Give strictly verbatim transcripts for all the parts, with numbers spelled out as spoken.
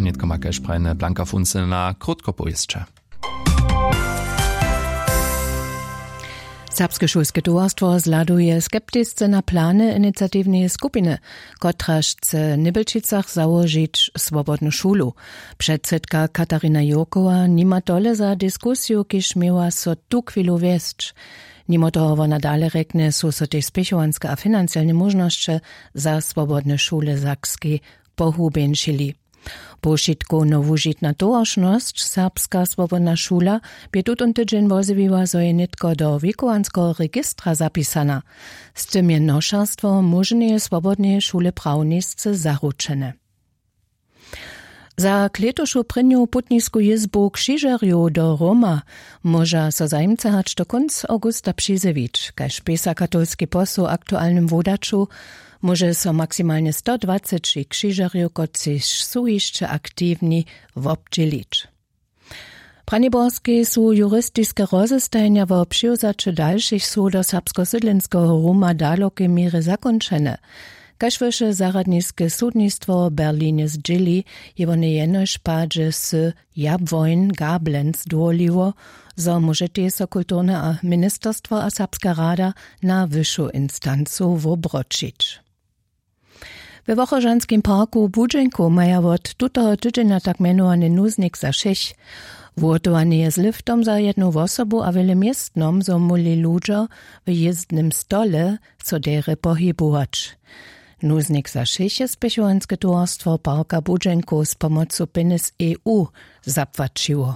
Nětko ma kaž prajene Blanka Funce na krótkopowěsće. Serbske šulske towarstwo zhladuje skeptisce na plany iniciatiwneje skupiny, kotraž chce w Nybelčicach załožić swobodnu šulu. Předsydka Katarina Jurkowa nima tole za diskusiju, kiž měła so tuchwilu wjesć. Nimo toho wona dale rjeknje, su so tež spěchowanske a financielne móžnosće za swobodne šule w Sakskej pohubjeńšili. Powšitkowno wužitna towaršnosć Serbska swobodna šula bě tutón tydźeń wozjewiła, zo je nětko do wikowanskeho registra zapisana. Z tym je nošerstwo móžneje swobodneje šule prawnisce zaručene. Za klětušu prěnju putnisku jězbu křižerjow do Roma móža so zajimcy hač do kónc awgusta přizjewić. Kaž pisa katolski posł w aktualnym wodaću, móže so maksimalnje stodwaceći křižerjow, kotřiž su hišće aktiwni, wobdźělić. W Braniborskej su juristiske rozestajenja wo přiwzaće dalšich sodow serbskosydlenskeho Roma w dalokej měrje zakónčene. Kaž wyše zarjadniske sudnistwo w Berlinje zdźěli, je wone jenož padźe sy Jabłoń Gablenz dwurliło, zo móžetej so kulturne a ministerstwo a Serbska rada na wyšu instancu wobroćić. We Wochožanskim parku w Budźenku maja wot tutoho tydźenja tak mjenowany nuznik za wšěch. Wuhotowane je z liftom za jednu wosobu a wjele městnom, zo móhli ludźo w jězdnym stole so derje pohibować. Nuznik za wšěch je spěchowanske towarstwo parka Budźenku z pomocu pjenjez E U zapłaćiło.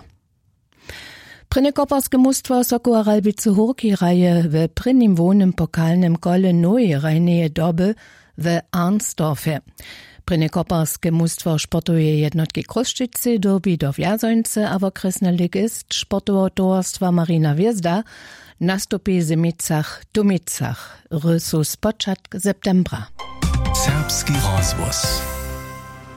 Prěnje koparske mustwo Sokoła Ralbicy Hórki hraje we prěnim hłownym pokalnym kole noweje hrajneje doby we Arnsdorfje. Prěnje koparske mustwo sportoweje jednotki Chrósćicy dyrbi do Wjazońcy a wokrjesny ligist sportoweho towarstwa Marina Hwězda nastupi w Zymicach w Tumicach. Hry su spočatk septembra. Serbski rozhłos.